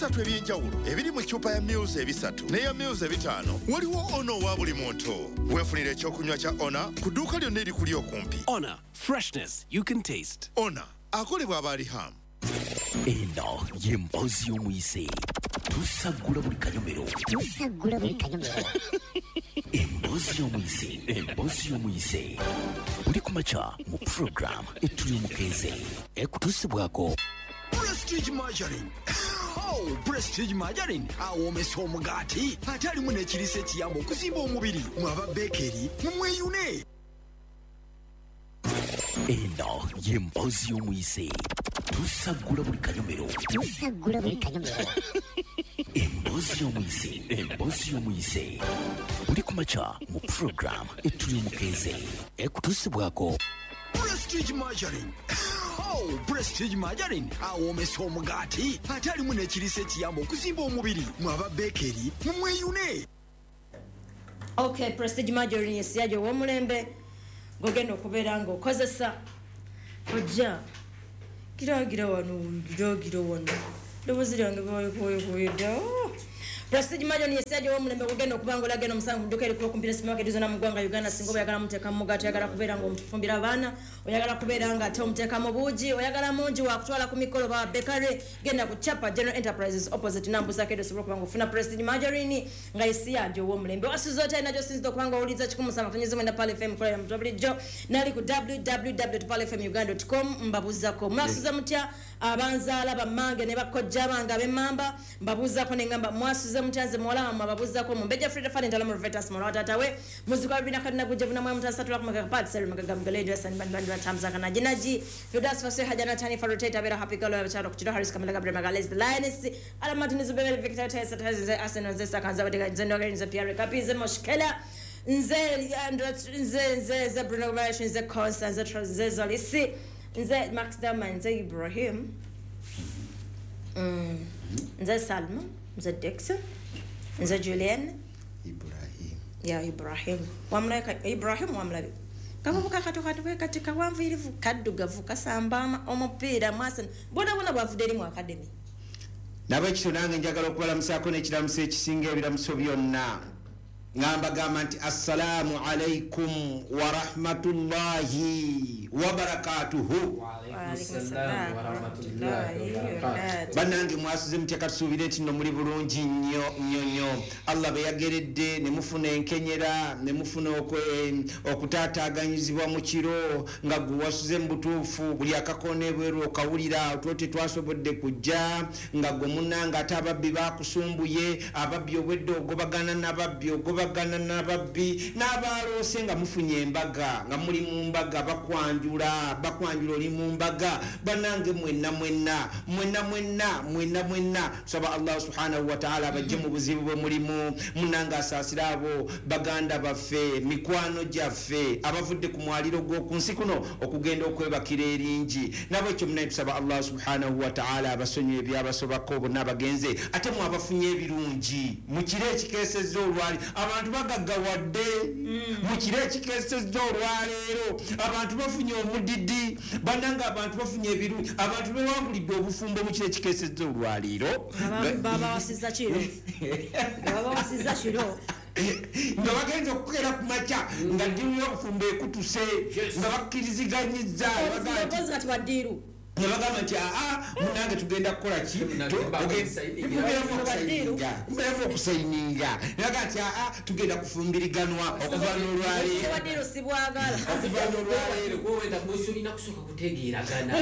Ebisatu eby'enjawulo ebiri mu ccupa ya mils 3 n'eya mils 5, waliwo Ona owa buli muntu. Weefunira ekyokunywa kya Ona ku dduuka lyonna erikuli okumpi. Honor, freshness you can taste. Ona akolebwa abaalihamu. Eno y'emboozi y'omuyise. Tusaggula buli kanyomero. Tusaggula buli kanyomero. Emboozi y'omuyise. Emboozi y'omuyise. Buli ku makya mu program Etuli Omukeeze. Ekutuusibwako Prestige Margarine. Oh, Prestige Margarine awoomesa omugaati ate alimu n'ekiriisa ekiyamba okuzimba omubiri. Mwaba bekeri mumweyune. Eno y'emboozi y'omuyise. Tusaggula buli kanyomero. Tusaggula buli kanyomero. Emboozi y'omuyise. Emboozi y'omuyise. Buli ku makya mu program Etuli Omukeeze. Ekutuusibwako Prestige Margarine. Oh, Prestige Margarine awoomesa omugaati ate alimu n'ekiriisa ekiyamba okuzimba omubiri. Mwaba bekeri mumweyune. Okay, Prestige Margarine yesiyaje ow'omulembe gogenda okubeera ng'okozesa. Ojja giragira wano, giragira wano, ddoboozi lyange balikuwekuwedda. Prestige Margarine yesiyaje ow'omulembe gogenda okuba nga olagenda omusango ku dduuka erikuba okumpi ne supermarket zonna mu ggwanga Uganda. Singa oba oyagala muteeka mu mugaati, oyagala kubeera ng'omufumbira abaana, oyagala kubeera nga ate omuteeka mu buugi, oyagala mungi wakutwala ku mikolo ba bakery, genda ku Chapa General Enterprises opposite Nambusa Kedo, osobola okuba ng'ofuna Prestige Margarine nga yesiyaje ow'omulembe. Wasuze otya nagyo sinzidde okuba nga owuliriza 107.9 Pearl FM kolera mutwe bulijjo nali ku www.pearlfmuganda.com. Mbabuuzako mwasuze mutya abanzaala bammange ne bakojja bange ab'emmamba, mbabuuzako ne ngamba mwasuze mutya nze muwala wammwe ababuuzako Mumbejja Frida Fani Ntala Vetas muwala wa taata we muzika wa bibina kadina gujja vuna mwe mutasa tula kumeka pat seri magaga mgale ndio sani bandi bandi tamza kana jinaji Fidas Fase Hajana Tani Faroteta Bera Happy Girl wa Charo Kuchiro Harris Kamala Gabriel Magales the Lioness Ala Martinez Bebel Victor Tesa Tesa Arsenal Zesa Kanza Badega Zendo Nze Pierre Kapize Moshkela Nze Nze Nze Nze Bruno Guimaraes Nze Constance Nze Zolisi Nze Max Dama Nze Ibrahim Nze Salma Nze Dixon Nze Julian Ibrahim. Ya Ibrahim wamulaka Ibrahim wamulabi kavubuka katukatuke katika wanviirivu kaddugavu kasamba omupiira mwasana bona bona bwavudde eri mu academy. Nabwekityo nange njagala okubalamusaako n'ekiramuso ekisinga ebiramuso byonna. Ngamba gamba nti assalaamu alaikum wa rahmatullahi wa barakatuhu. Bannange mwasuze mutya? Katusuubire nti nno muli bulungi nnyo nnyo nnyo. Allah be yageredde ne mufuna enkenyera ne mufuna okutaataaganyizibwa mu kiro nga gwe wasuze mu butuufu, buli akakoona ebweru okawulira otwo tetwasobodde kujja, nga gwe munnange ate ababbi baakusumbuye, ababbi obwedde ogobagana n'ababbi ogobagana n'ababbi n'abaaloose nga mufunye embaga, nga muli mu mbaga bakwanjula bakwanjula oli mu mbaga. Bannange mwenna mwenna mwenna mwenna mwenna mwenna tusaba Allah subhanahu wa ta'ala abajje mu buzibu bwe mulimu. Munnange asaasira abo baganda baffe, mikwano gyaffe abavudde ku mwaliro gw'oku nsi kuno okugenda okwebakira eringi. Nabwekyo munaye tusaba Allah subhanahu wa ta'ala abasonyiwe ebyabasobako bonna abagenze, ate mwe abafunye ebirungi mu kiro ekikeesezza olwali. Abantu bagaggawadde mu kiro ekikeesezza olwaleero, abantu bafunye omudidi, bannange abantu bafunye ebirungi, abantu bewangulidde obufumbo mu kiro ekikeesezza olwaleero. Babawasizza kiro, babawasizza kiro nga bagenza okukeera ku makya nga ddiiru y'obufumbo ekutuse, nga bakkiriziganyizza kati baddiiru ne bagamba nti aa munange tugenda kukola ki, mubeeramu okusayininga, ne bagamba nti aa tugenda kufumbiriganwa okuva n'olwaleero. Okuva n'olwaleero olina kutegeeragana.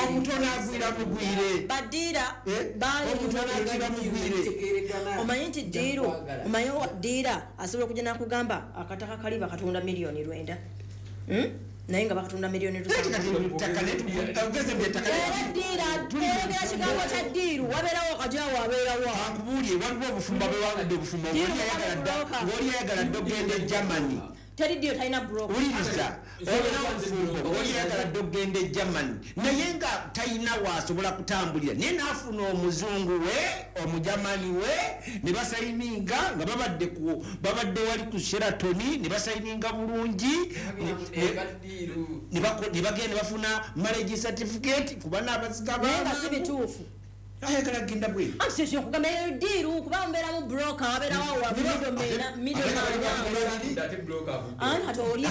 Omutono agwira mugwire, omutono agwira mugwire. Omanyi nti ddiiru, omanyi ddiira asobola okujja n'akugamba akataka kali bakatunda 9,000,000 naye nga bakatunda 7,000,000. Ddiira kigambo kya ddiiru wabeerawo kati awo abeerawo. Kankubuulire, waliwo obufumbo bewangudde obufumbo ng'oli ayagala dda okugenda e Germany. Teri deal talina broker. Wuliriza, olina obufumbo, oliyagala dde okugenda e Germany, naye nga talina waasobola kutambulira, naye n'afuna omuzungu we, omujamani we, ne basayininga nga babadde wali ku Sheraton, ne basayininga bulungi, ne bagenda bafuna marriage certificate kuba n'abasiga Naye nga si bituufu. Ayagala kugenda bweru. Anti kyekyo nkugamba eyo deal, kuba mbeeramu broker, wabeerawo wa middleman. Anti kati oli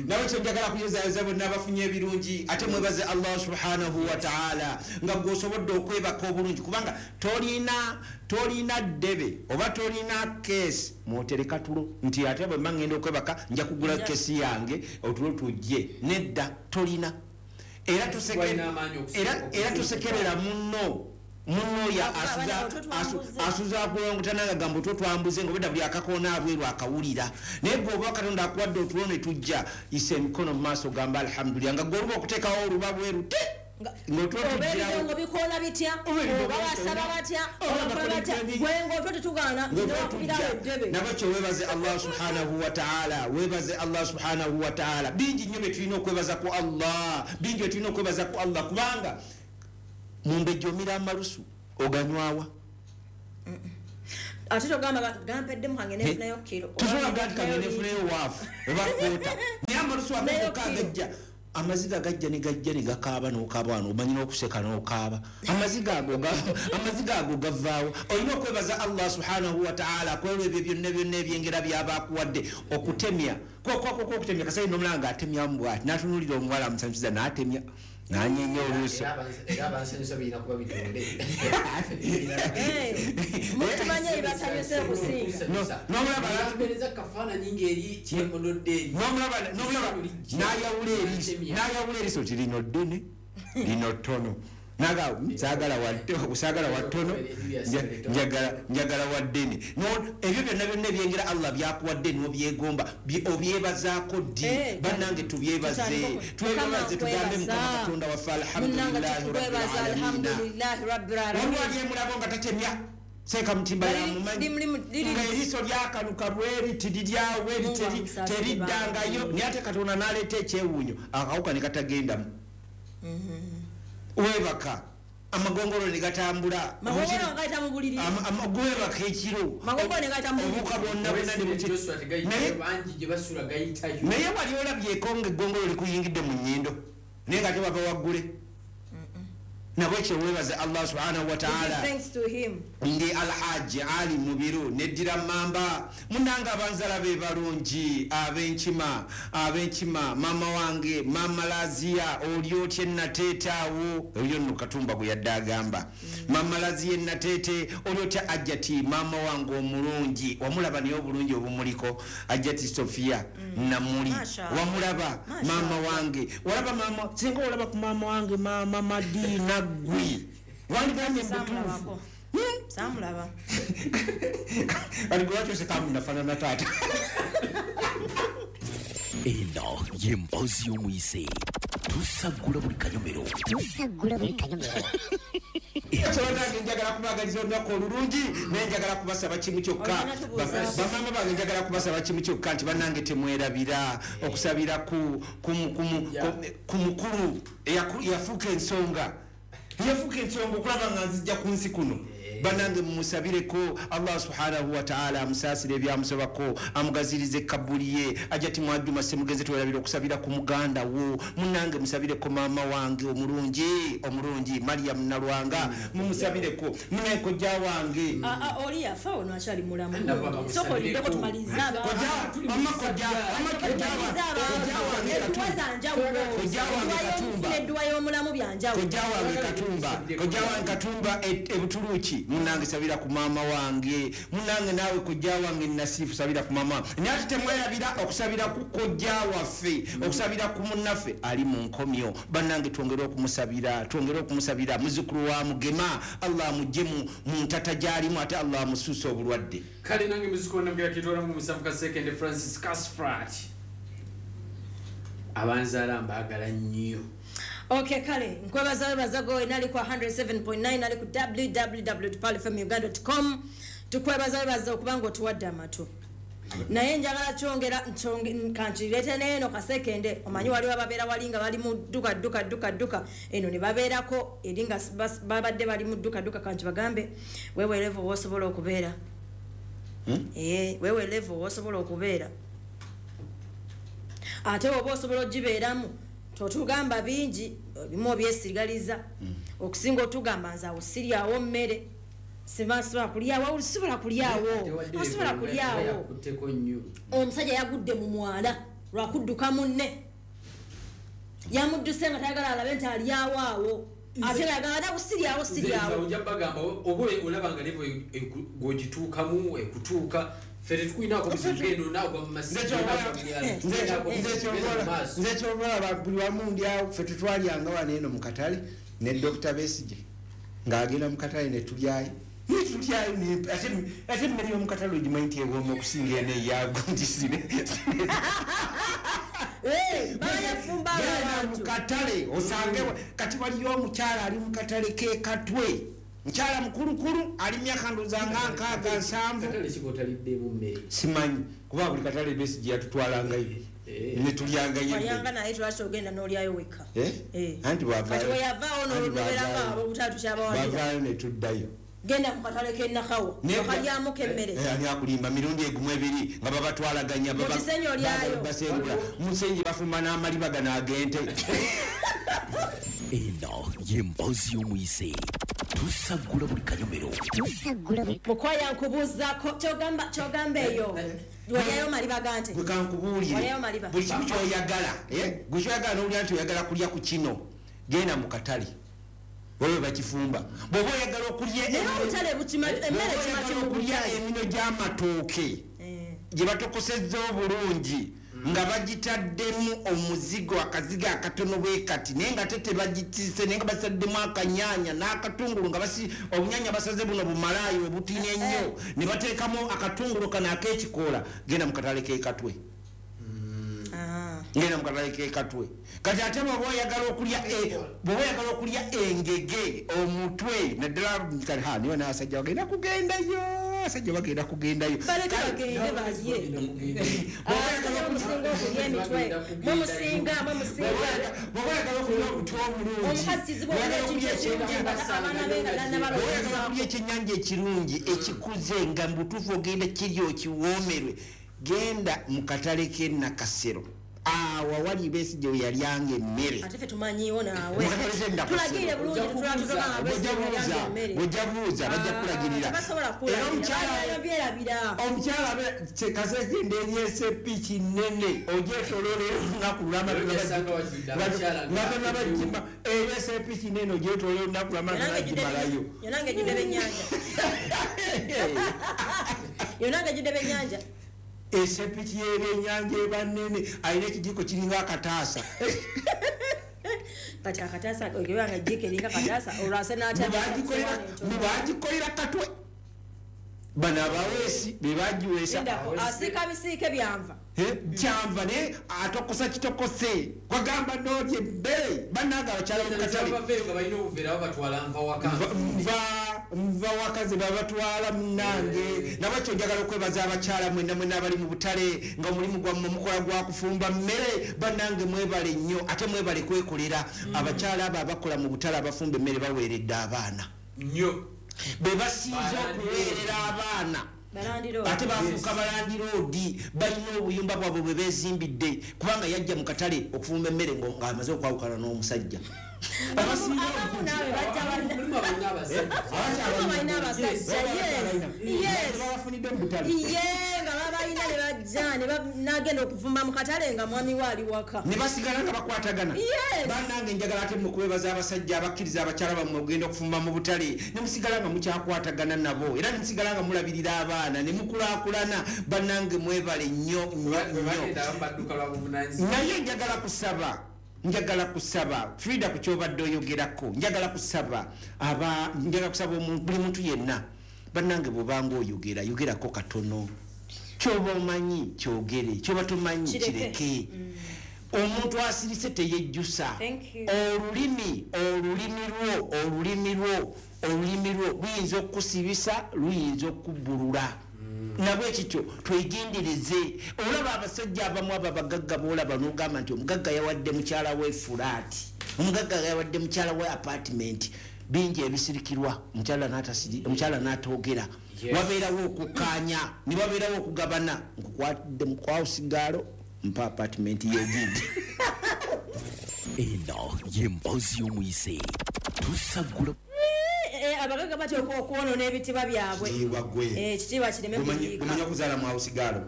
Nawe kyenjagala kuyozayoza bonna abafunye ebirungi, ate mwebaze Allah subhanahu wa ta'ala nga gw'osobodde okwebaka obulungi, kubanga tolina ddebe oba tolina keesi mwotereka tulo nti ate bwe mba ngenda okwebaka nja kugula keesi yange otulo tujje. Nedda, tolina. Era tusekerera munno ya asuza kulongotana nga gamba otwambuze nga obedda buli akakoona abweru akawulira, naye gwe oba Katonda akuwadde otulo ne tujja, isa emikono mu maaso gamba alhamdulillah, nga gwe oluba okuteekawo oluba bweru te nga bikoona bitya, oba basaba batya, oba batya, gwe ng'otwo tetugaana newakubirawo eddebe. Nabwekyo weebaze Allah subhanahu wa ta'ala, weebaze Allah subhanahu wa ta'ala. Bingi nnyo bye tulina okwebaza ku Allah, bingi bye tulina okwebaza ku Allah, kubanga mumbejja omira amalusu oganywawa. Ate togamba gampeddemu kange nefunayo kiro, tosobola gati kange nefunayo waafu oba koota, naye amalusu agoka agajja, amaziga gajja ne gajja ne gakaaba n'okaaba wano, omanyi n'okuseka n'okaaba, amaziga ago gavaawo. Olina okwebaza Allah subhanahu wa ta'ala kwolwo ebyo byonna byonna ebyengera by'aba akuwadde. Okutemya okutemya kasayi n'omulanga ng'atemyamu bw'ati, n'atunuulira omuwala amusanyusiza n'atemya n'anyeenya oluuso. Era abansanyusa birina kuba bitonde. Mutumanye ebibasanyusa okusinga. N'omulaba kafaananyi ng'eri kyekododde eri. N'omulaba n'ayawula eriiso nti lino ddene, lino ttono. Naga saagala wa ttono, njagala wa ddene. Ebyo byonna byonna ebyengera Allah byakuwadde n'obyegomba, obyebazaako ddi? Bannange tubyebaze, twebaze tugambe Mukama Katonda waffe alhamdulillahi rabbil alamin. Waliwo ali emulabo nga tatemya, seeka mutimba yamumanyi nga eriiso lyakanuka bweri tiriryawe teriddangayo, naye ate Katonda n'aleeta ekyewuunyo akawuka ne katagendamu. Weebaka amagongolo ne gatambula, gwebaka ekiro, obuuka bwonna bwonna ne buki. Naye wali olabyeko ng'eggongolo likuyingidde mu nnyindo naye nga tebava waggule. Nabwekyo weebaze Allah subhanahu wa ta'ala. Ndi Alhaji Ali Mubiru neddira mamba. Munnange abanzala be balungi, ab'enkima, maama wange maama Lazia, oli otya Nateete awo, oyo nno Katumba gwe yadde agamba. Maama Lazia Nateete, oli otya Ajjati maama wange omulungi, wamulaba naye obulungi obumuliko, Ajjati Sofia Namuli, wamulaba maama wange, walaba maama, singa olaba ku maama wange maama Madina gwi wandigambye mubutuufu. Samulaba kati gwe lwaki oseka nafaanana taata? Eno ye mboozi y'omuyise, tusaggula buli kanyomero. Bannange njagala kubaagaliza olunaku olulungi, naye njagala kubasaba kimu kyokka. Bamaama bange njagala kubasaba kimu kyokka nti bannange temwerabira okusabira ku mukulu eyafuuka ensonga. Yafuuka ensonga okulaba nga nzijja ku nsi kuno. Bannange mumusabireko Allah subhanahu wa ta'ala amusaasire ebyamusobako, amugazirize kabuli ye. Ajati Mwajuma Ssemugenzi, twerabira okusabira ku muganda wo. Munnange musabireko maama wange omulungi Mariam Nalwanga, mumusabireko. Munnaye kojja wange oli yafa ono akyali mulamu, sooka olindeko tumalize. Edduwa y'omulamu byanjawulo. Kojja wange Katumba e Butuluki, munange sabira ku maama wange, munange naawe kojja wange Nasifu sabira ku maama. Naye ate temwerabira okusabira ku kojja waffe, okusabira ku munnaffe ali mu nkomyo. Bannange twongere okumusabira, muzzukulu wa Mugema, Allah amugye mu ntata gy'alimu, ate Allah amusuuse obulwadde. Kale nange muzzukulu namugera kitwala mu musanvu Kasekende Francis Casfrat, abanzaala mbaagala nnyo. Okay, kale nkwebaza webaza go nali ku 107.9, nali ku www.palfmuganda.com. Tukwebaza webaza okubanga otuwadde amatu. Naye njagala kyongera kankireete n'eno kasekende, omanyi waliwo ababeera wali nga bali mu dduka dduka dduka dduka, eno ne babeerako eri nga babadde bali mu dduka dduka. Kankibagambe, wewe level w'osobola okubeera. Wewe level w'osobola okubeera, ate oba osobola ogibeeramu totugamba bingi, ebimu obyesigaliza. Okusinga otugamba nze awo siryawo mmere, sibasobola kulyawo, osobola kulyawo, osobola kulyawo. Omusajja yagudde mu mwala lwakudduka munne, yamudduse nga tayagala alabe nti alyawo awo, ate yagala ate kusiryawo siryawo. Ojja bagamba oba olaba nga level gw'ogituukamu ekutuuka, ffe tetukulinako buzibu nagwa mu Nze kyobalaba buli wamu ndyawo. Ffe tetwalyanga wano eno mu katale ne Dr. Besigye ng'agenda mu katale ne tulyayo, ate emmere y'omu katale ogimanyi nti ewooma okusinga eno eyago nti Bayafumba mu katale osange. Kati waliyo omukyala ali mu katale k'e Katwe, mukyala mukulukulu, ali myaka ndowooza nga 67. Katale kikotaliddemu mmere? Simanyi, kuba buli katale Besigye yatutwalangayo ne tulyangayo. Walyanga, naye twaki ogenda n'olyayo wekka? Anti Kati weyavaawo nobeeranga abobutatu kyabawanira. Bwavaayo ne tuddayo. Genda ku katale k'enakawo okalyamuko emmere. Ani akulimba? Mirundi egumu ebiri nga babatwalaganya. Mu Kisenyi olyayo. Basengula musenyi, bafumba n'amaliba gano ag'ente. Eno y'emboozi y'omuyise, tusaggula buli kanyomero. Tusaggula buli Mukwaya, nkubuuzaako, kyogamba eyo walyayo maliba gante? Gwe kankubuulire. Walyayo maliba? Buli kimu kyoyagala, gwe kyoyagala nowulira nti oyagala kulya ku kino, genda mu katale waliwe bakifumba. Bw'oba oyagala okulya Naye obutale bukima emmere. Bw'oba Kima oyagala kimu okulya butale. emino gy'amatooke gye batokosezza obulungi nga bagitaddemu omuzigo, akazigo akatono bwe kati, naye nga te tebagitise, naye nga basaddemu akanyanya n'akatungulu, nga basi obunyanya basaze buno bumalaayo obutini ennyo, ne bateekamu akatungulu kano ak'ekikoola, genda mu katale k'ekatwe. Ngenda mu katale k'ekatwe. Kati ate bw'oba oyagala okulya engege omutwe naddala, kati ha niwe n'abasajja bagenda kugendayo, abasajja bagenda kugendayo. Baleke bagende balye. Abasajja bamusinga okulya emitwe, mumusinga, mumusinga. Bw'oba oyagala okulya omutwe omulungi, Omukazi kizibu okulya ekintu ekirungi nga abaana be nga bw'oba oyagala nabalowoozaako. okulya ekyennyanja ekirungi ekikuze nga mubutuufu ogenda kiri okiwoomerwe, genda mu katale k'e Nakasero awo awali Besigye we yalyanga emmere. Ate ffe tumanyiiwo naawe. Mu katale k'e Nakasero. Tulagirire bulungi, tulatugamba nga Bw'ojja Besigye buuza, yalyanga emmere. bw'ojja buuza bajja kulagirira. Tebasobola Era kulagirira. omukyala Byerabira. Omukyala kasekende eri esepiki nene ogyetololera olunaku lulamba. Osanga wazidde abakyala nga tonabagima, eri esepiki nene ogyetololera olunaku lulamba tonagimalayo. Yonange ejjudde byennyanja, yonange ejjudde byennyanja. Esepiki y'ebyennyanja eba nene, alina ekijiko kiringa akataasa. Kati akataasa ebanga ejjiiko eringa kataasa, olwase. Mubagikolera Katwe, bano abaweesi be bagiweesa. Asiika bisiike byanva. Kyanva, naye atokosa kitokose, kwagamba nolye emmere. Bannange abakyala mukatale Baveeyo nga balina obuveera, babatwala nva waka. Nva waka ze babatwala. Munange, nabakyo njagala okwebaza abakyala mwenna mwenna abali mu butale nga omulimu gwammwe mukola gwa kufumba mmere. Bannange mwebale nnyo, ate mwebale kwekolera. Abakyala abo abakola mu butale abafumba emmere baweeredde abaana nnyo. Be basinze okuweerera abaana. Balandiroodi. Ate bafuuka balandiroodi, balina obuyumba bwabwe bwe bezimbidde, kubanga yajja mu katale okufumba emmere ng'amaze okwawukana n'omusajja. Abasinga Abamu naawe bajja Mulimu abalina abasajja. Abamu balina abasajja, yes. Babafunidde mu butale. Ye nga babalina ne bajja ne nagenda okuvuma mu katale nga mwami we ali waka. Ne basigala nga bakwatagana. Yes. Bannange, njagala ate mukwebaza abasajja abakkiriza abakyala bammwe okugenda okufumba mu butale ne musigala nga mukyakwatagana nabo, era ne musigala nga mulabirira abaana ne mukulaakulana. Bannange mwebale nnyo nnyo Bwe nnyo. bagenda abamu badduka lwa buvunaanyizibwa. Naye njagala kusaba Frida ku kyobadde oyogerako, njagala kusaba aba njagala kusaba buli muntu yenna, bannange, bw'obanga oyogera, yogerako katono. Kyoba omanyi kyogere, kyoba tomanyi Kireke. kireke. Omuntu asirise teyejjusa. Olulimi olulimi lwo luyinza okukusibisa, luyinza okubbulula. Nabwe kityo twegendereze. Olaba abasajja abamu abo abagagga boolaba n'ogamba nti omugagga yawadde mukyala we flat, omugagga yawadde mukyala we apartment, bingi ebisirikirwa, omukyala n'atoogera. Wabeerawo okukkaanya ne wabeerawo okugabana. Nkukwatidde mukwawusigaalo, mpa apartment yegindi. Eno yemboozi y'omuyise tusaggula. Abagagga batya okwonoona ebitiibwa byabwe. Kitiibwa gwe. Ekitiibwa kireme kuyiika. Gumanya okuzaala mu housegiral.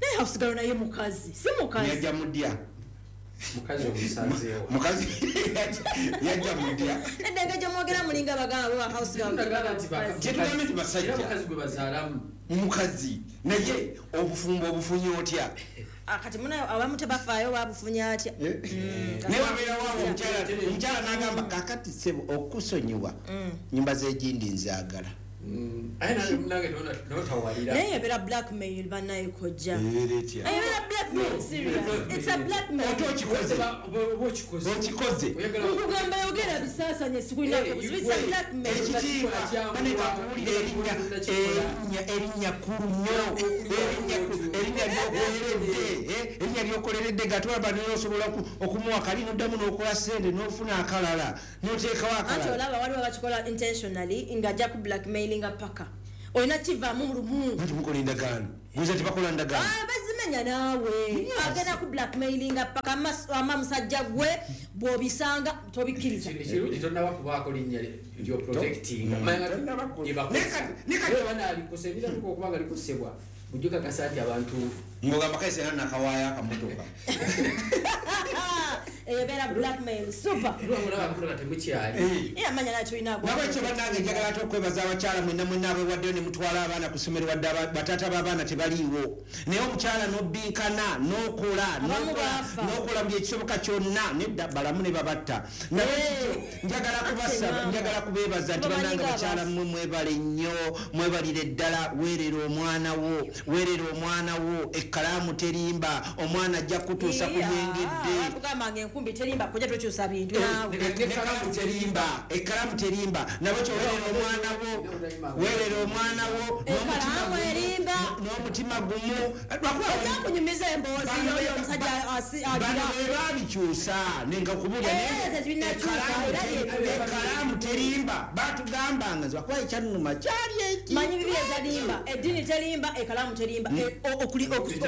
Naye housegiral naye mukazi, si mukazi. Yajja mudya. Mukazi omusanzeewa. Mukazi yajja mudya. Edda gye mwogera mulinga abagamba ba housegiral. Ndagala nti Kyetugambe nti basajja. Era mukazi gwe bazaalamu. Mukazi naye obufumbo obufunye otya? Kati munayo abamu tebafaayo babufunye atya. Naye wabeerawo awo omukyala n'agamba kakati ssebo okusonyiwa nyumba z'egindi nzaagala. Aye nange notawalira. Naye ebeera blackmail bannaye kojja. Ebeera etya? Ebeera blackmail, serious, it's a blackmail. Ate okikoze. Oba okikoze. Okikoze. Oyagala Nkugamba yogera bisaasanye sikulinako buzibu, it's a blackmail. Ekitiibwa banekakuwulira erinnya kkulu nnyo, erinnya lyokoleredde, erinnya lyokoleredde nga tolaba naye osobola okumuwa kali noddamu n'okola ssente n'ofuna akalala n'oteekawo Anti akalala. olaba waliwo abakikola intentionally nga ajja ku blackmailinga paka olina kivaamu lumu. Anti mukola endagaano, guza tebakola ndagaano. Bazimenya naawe agenda ku blackmailinga paka ama musajja gwe bw'obisanga tobikkiriza. Ekirungi tonnaba kubaako linnya lyoprotectinga. Banalikosa ebiratuka okuba nga likosebwa bujjo kakasa nti abantu Ng'ogamba kaise era nakawaayo akamotoka. Ebeera blackmail super. Lwamulaba temukyali. Era amanya naye tulina. Nabwekyo bannange njagala ate okwebaza abakyala mwenna mwenna abewaddeyo ne mutwala abaana ku ssomero, wadde bataata b'abaana tebaliiwo, naye omukyala n'obbinkana n'okola Abamu baafa. n'okola buli ekisoboka kyonna nedda balamu ne babatta. Nabwekityo njagala kubasaba, Ate njagala kubeebaza nti Bamanyi bannange nga bakyala abafu. mmwe mwebale nnyo, mwebalire ddala. Weerera omwana wo, weerera omwana wo, ekkalaamu terimba, omwana ajja kutuusa ku byengedde. Batugamba nga enkumbi terimba kojja tokyusa bintu naawe. Ekkalaamu terimba, ekkalaamu terimba. Nabwekyo weerera omwana wo, weerera omwana wo n'omutima Ekkalaamu gumu, erimba. n'omutima gumu. Lwakuba Ojja kunyumiza emboozi yoyo omusajja bano agira. be babikyusa nenga kubulya. Eh, tebinakyuka, era Ekkalaamu terimba batugambanga nze wakuba ekyannuma kyali eki. Manyi bibi ezalimba, eddiini terimba, ekkalaamu terimba. Okusoma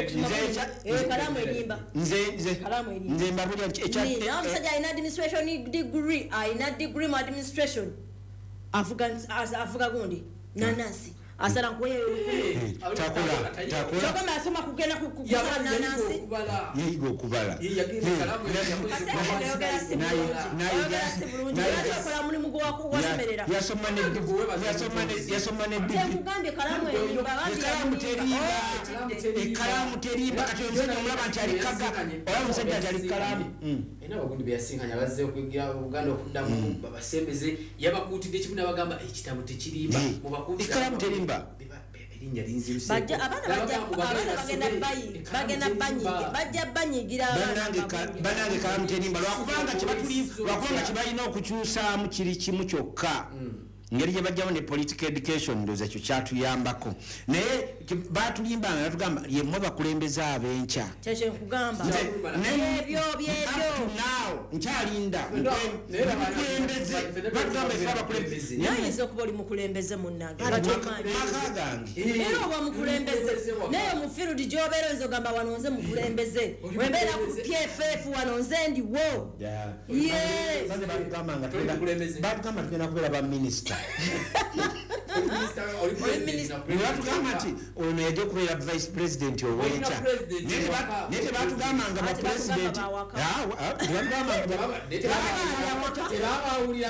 ekkalaamu erimba. Nze Ekkalaamu erimba. nze mbabulya nti Nina omusajja alina administration degree, alina degree mu administration, avuga gundi nanansi asala nkuweyo. Takola takola. Kyogamba asoma kugenda kusala nanansi. Okubala. Yayiga okubala. Ayogera si bulungi, ayogera si bulungi. Lwaki okola mulimu gwasemerera? Yasoma ne degree. Kyekugambye kalaamu erimba. Ekkalaamu terimba, ekkalaamu terimba. Kati omusajja omulaba nti ali kaga, olaba omusajja nti ali kalaamu. Era abagundi beyasinkanya bazze okuyigira Buganda okuddamu babasembeze, yabakuutidde kimu nabagamba ekitabo tekirimba. Mubakuutire. Ekkalaamu terimba. Erinnya linziruseeko. Bajja abaana abaana bagenda bayi bagenda banyiga bajja banyigira abaana. Bannange kalaamu terimba lwakubanga kyebalina okukyusaamu kiri kimu kyokka, ngeri gye bajjamu ne political education. Ndowooza ekyo kyatuyambako, naye batulimbanga batugamba yemmwe bakulembeze ab'enkya. Kyekyo nkugamba. Byebyo byebyo. Up to now nkyalinda mukulembeze, batugamba efe abakulembeze. Naye oyinza okuba oli mukulembeze munnange nga Ati tomanyi. Maka gange. Era oba mukulembeze naye mu field gy'obeera oyinza ogamba wano nze mukulembeze, wembeera ku PFF wano nze ndiwo ye. Banze batugamba nga Toli mukulembeze. batugamba tugenda kubeera baminisita. Nebatugamba nti ono yajja okubeera vice president ow'enkya. Olina president ewaka. Naye tebatugambanga Ate bapresident. batugamba bawaka. Tebatugambanga. Tebabawulira.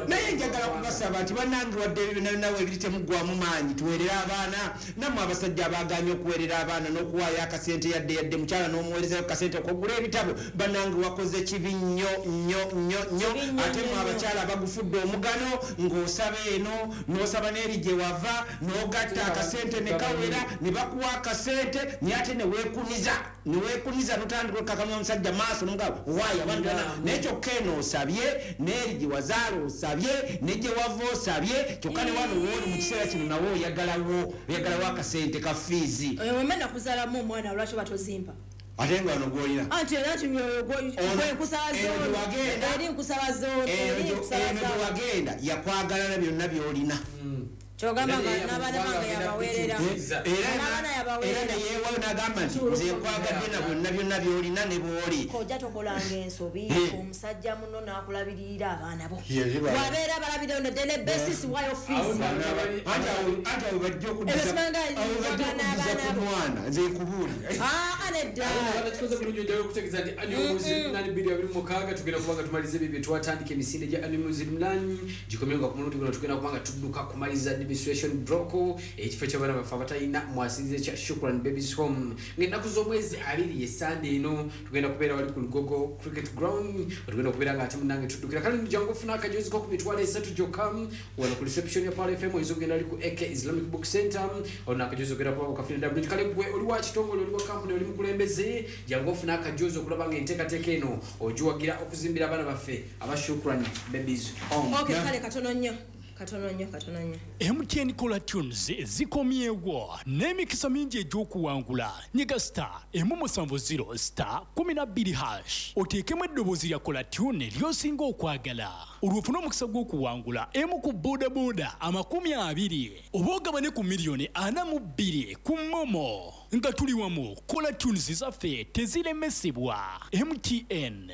Naye njagala kubasaba nti bannange wadde ebyo nawe ebiri temuggwamu maanyi, tuweerere abaana. Nammwe abasajja abaganye okuweerera abaana n'okuwaayo akasente yadde mukyala n'omuweerezayo kasente okugula ebitabo, bannange wakoze kibi nnyo nnyo nnyo nnyo. Kibi nnyo, Ate nnyo, mwe nnyo. abakyala abagula Bagufudde omugano, ng'osaba eno n'osaba n'eri gye wava, n'ogatta akasente ne kawera, ne bakuwa akasente, naye ate ne weekuniza n'otandika okakamya omusajja maaso n'omugamba waayi abantu naye kyokka eno osabye, n'eri gye wazaala osabye, ne gye wava osabye, kyokka ne wano wooli mu kiseera kino nawe oyagalawo akasente ka fiizi. Oyo nakuzaalamu omwana, lwaki batozimba? Ate nga wano gw'olina. Anti era nti gwe nkusaba zooni, eri nkusaba zooni, eri nkusaba Eno gye wagenda yakwagala na byonna by'olina. Kyogamba nga n'abaana bange yabaweerera. Era neyeewayo n'agamba nti nze nkwagadde na byonna byonna by'olina ne bw'oli. Kojja tokolanga ensobi, omusajja muno n'akulabirira abaana bo. Bw'abeera balabirira on a daily basis, wayo fees. Anti awo bajja okuddiza ku mwana, nze nkubuulira. Nedda. Kikoze bulungi ojjayo okutegeeza nti annual Muslim 2026 tugenda kubanga tumaliza ebyo bye twatandika. Emisinde gya annual Muslim gikomyewo, nga ku mulundi guno tugenda kubanga tudduka kumaliza administration block, ekifo ky'abaana baffe abatalina mwasinze kya Shukran Babies Home, ng'ennaku z'omwezi 20 esande eno tugenda kubeera wali ku Lugogo Cricket Ground. Tugenda kubeera nga ate munnange tuddukira. Kale jangu ofuna akajozi ko ku 30,000 gyokka wano ku reception ya Pearl FM. Oyinza okugenda ali ku AK Islamic Book Center, ono akajozi ogenda kuba okafuna ddala. Kale gwe oli wa kitongole, oli wa kampuni, oli mukulembeze, jangu ofuna akajozi okulaba nga enteekateeka eno ogiwagira okuzimbira abaana baffe aba Shukran Babies Home. Okay, kale katono nnyo. Katono nnyo, katono nnyo. MTN Caller Tunes zikomyewo n'emikisa mingi egy'okuwangula. Nyiga star 170 star 12 hash, oteekemu eddoboozi lya Caller Tune ly'osinga okwagala, olwo ofune omukisa gw'okuwangula emu ku bodaboda 20 oba ogabane ku 42 miliyoni ku MoMo. Nga tuli wamu, Caller Tunes zaffe teziremesebwa. MTN.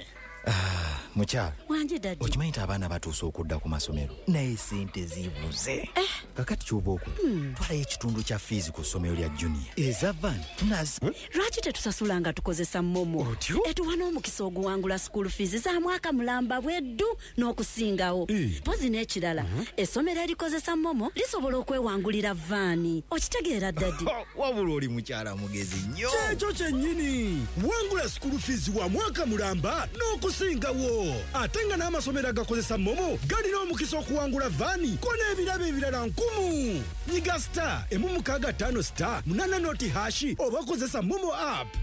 Mukyala. Wanje daddy. Okimanyi nti abaana batuuse okudda ku masomero, naye sente zibuze. Kakati kyoba okola, twalayo ekitundu kya fiizi ku ssomero lya junior, eza van tunazi. Lwaki tetusasula nga tukozesa MoMo? Etuwa n'omukisa oguwangula school fees za mwaka mulamba bweddu n'okusingawo. Mpozi n'ekirala, essomero erikozesa MoMo lisobola okwewangulira vaani. Okitegeera daddy? Wabula oli mukyala mugezi nnyo. Kyekyo kyennyini, wangula school fees wa mwaka mulamba n'okusingawo, ate nga n'amasomero agakozesa MoMo galina omukisa okuwangula vaani ko n'ebirabo ebirala nkumu. Nyiga star 165 star 8 noti hash oba kozesa MoMo app.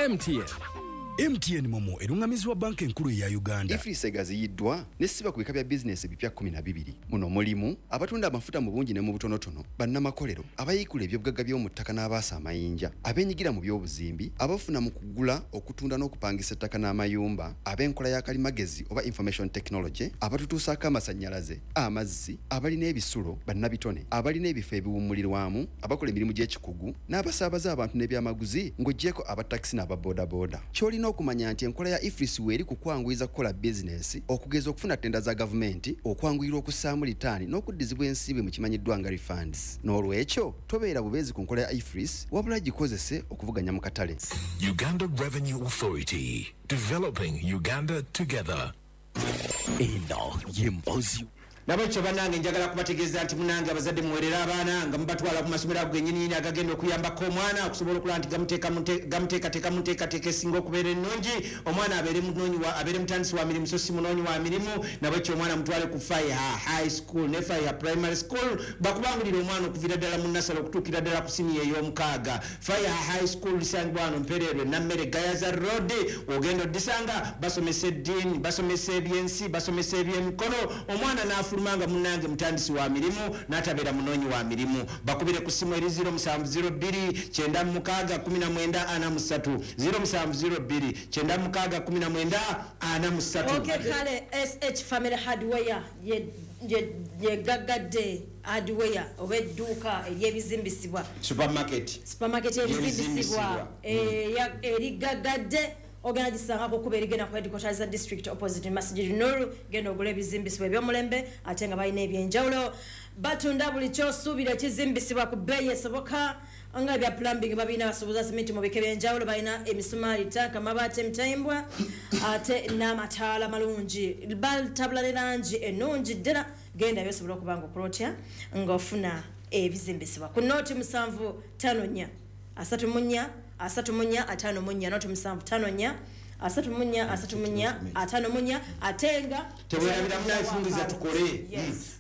MTN. MTN MoMo eruŋŋamizibwa Banka Enkulu eya Uganda. EFRIS egaziyiddwa nesiba ku bika bya bizinesi ebipya 12. Muno mulimu abatunda amafuta mu bungi ne mu butonotono, bannamakolero, abayiikula ebyobugagga by'omu ttaka n'abaasa amayinja, abeenyigira mu by'obuzimbi, abafuna mu kugula, okutunda n'okupangisa ettaka n'amayumba, ab'enkola ya kalimagezi oba information technology, abatutuusaako amasannyalaze, amazzi, abalina ebisulo, bannabitone, abalina ebifo ebiwummulirwamu, abakola emirimu gy'ekikugu n'abasaabaza abantu n'ebyamaguzi, ng'oggyeko abatakisi n'ababoodabooda. Ky'olina okumanya nti enkola ya EFRIS weeri ku kwanguyiza kukola bizinesi, okugeza okufuna tenda za gavumenti, okwanguyirwa okussaamu litaani n'okuddizibwa ensimbi mu kimanyiddwa nga refunds. N'olwekyo tobeera bubeezi ku nkola ya EFRIS, wabula gikozese okuvuganya mu katale. Uganda Revenue Authority. Developing Uganda together. Eno ye mbozi. Nabwekyo bannange, njagala kubategeeza nti munange abazadde muwerere abaana nga mubatwala ku masomero ago gennyininyini agagenda okuyambako omwana okusobola okulaba nti gamuteekateeka mu nteekateeka esinga okubeera ennungi, omwana abeere munoonyi abeere mutandisi wa mirimu so si munoonyi wa mirimu. Nabwekyo omwana mutwale ku Faiha High School ne Faiha Primary School, bakubangulira omwana okuviira ddala mu nursery okutuukira ddala ku siniya ey'omukaaga. Faiha High School lisangibwa wano Mpererwe, Nammere, Gayaza Road. Ogenda oddisanga basomesa eddiini, basomesa ebyensi, basomesa ebyemikono, omwana n'afuluma nga munnange mutandisi wa mirimu n'atabeera munoonyi wa mirimu. Bakubire ku ssimu eri 0702 96 19 43, 0702 96 19 43. Okay, kale SH Family Hardware ye gaggadde hardware oba edduuka ery'ebizimbisibwa. Supermarket. Supermarket y'ebizimbisibwa erigaggadde ogenda gisangako kuba erigenda ku headquarters za district opposite Masjid Nur. Genda ogula ebizimbisibwa eby'omulembe, ate nga balina ebyenjawulo. Batunda buli kyosuubira ekizimbisibwa ku bbeeyi esoboka, nga ebya plumbing babirina, basuubuza simiti mu bika ebyenjawulo, balina emisumaali, tanka, amabaati, emitayimbwa, ate n'amataala malungi. Batabula ne langi ennungi ddala. Genda byosobola okuba nga okola otya ng'ofuna ebizimbisibwa ku nooti 754 34 34 54, nooti 754. 34 34 54 atenga tewerabira munafungiza tukole.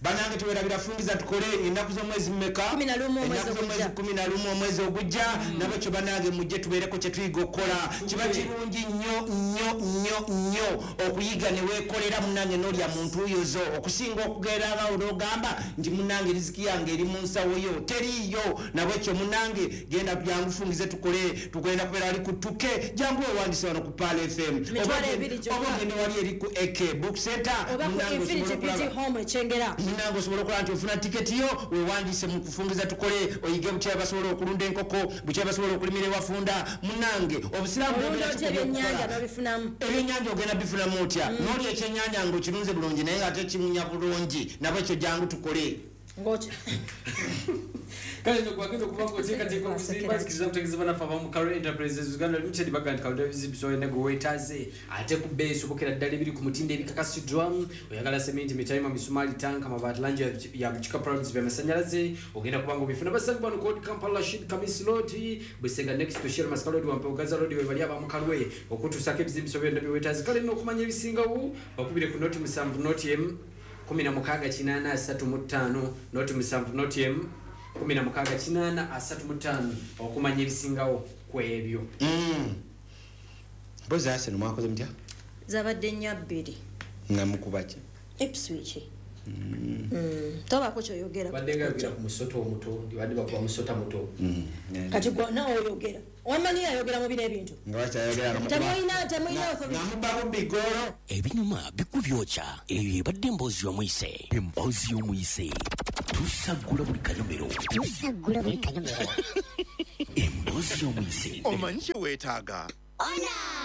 Banange tewerabira fungiza tukole ennaku z'omwezi mmeka? 11 omwezi ogujja. 11 omwezi ogujja. Nabakyo banange mujje tubeereko kye tuyiga okukola. Kiba kirungi nnyo nnyo nnyo nnyo okuyiga ne weekolera munnange n'olya mu ntuuyo zo, okusinga okugeraawo n'ogamba nti munnange riziki yange eri mu nsawo yo, teriiyo. Nabwekyo munnange genda jangu fungize tukole, tugenda kubeera wali ku 2K, jangu weewandise wano ku Pearl FM oba ogende wali eri ku AK Book Center, munnange osobola okulaba nti ofuna tiketi yo, weewandise mu kufungiza tukole, oyige butya basobola okulunda enkoko, butya basobola okulimira ewafunda. Munnange obusiraamu ebyennyanja ogenda bifunamu otya? N'olya ekyennyanja ng'okirunze bulungi naye nga ate kimunya bulungi. Nabwekyo jangu tukole. Kale nogwagenda okuba ng'oteekateeka okuzimba, nzikiriza okutegeeza bannaffe abamu Karo Enterprises Uganda Limited baga nti kalonda ebizibu olina gwe weetaaze, ate ku bbeeyi esobokera ddala ebiri ku mutindo ebikakasiddwa. Oyagala seminti, mitayima, misumaali, tanka, amabaati, langi ya bukika, products by'amasannyalaze, ogenda kuba ng'obifuna. Basangibwa wano Code Kampala, Rashid Kamis Road, Busega next to Shell Masaka Road, Wampewo Gaza Road, we bali abamu Kalwe okutuusaako ebizimbiso byonna bye weetaaze. Kale nno okumanya ebisingawo bakubire ku noti 7 noti emu 16 835, noti 7 noti emu 16 835 okumanya ebisingawo ku ebyo. Mpozi Arsenal mwakoze mutya? Zabadde 4-2. Nga mukuba ki? Ipswich. Tobaako kyoyogera. Badde nga yogera ku musota omuto, badde bakuba musota muto. Kati gwe naawe oyogera. Wamanyi ayogera mu bino ebintu. Nga bakyayogera. Temulina authority. Namuba bubbi goolo. Ebinyuma bikubyokya. Eyo ebadde emboozi y'omuyise. Emboozi y'omuyise. Tusaggula buli kanyomero. Tusaggula buli kanyomero. Emboozi y'omuyise. Omanyi kye weetaaga? Ona!